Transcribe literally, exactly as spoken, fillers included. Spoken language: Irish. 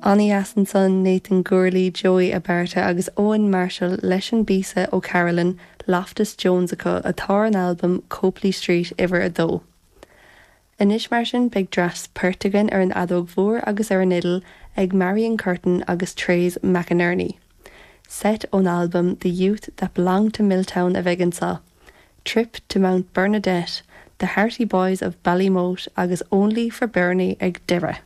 An-dheas ansan Nathan Gourley, Joey Abarta agus Owen Marshall leis an bpíosa O'Carolan, Loftus Jones acu atá ar an albam Copeley Street uimhir a dó. Anois mar sin beidh dreas poirt againn ar an fheadóg mhór agus ar an fhidil ag Marion Curtin agus Trace McInerney. Set ón albam The Youth That Belonged to Milltown a bheidh anseo. Trip to Mount Bernadette, The Hearty Boys of Ballymote agus Only for Bernie ag deireadh.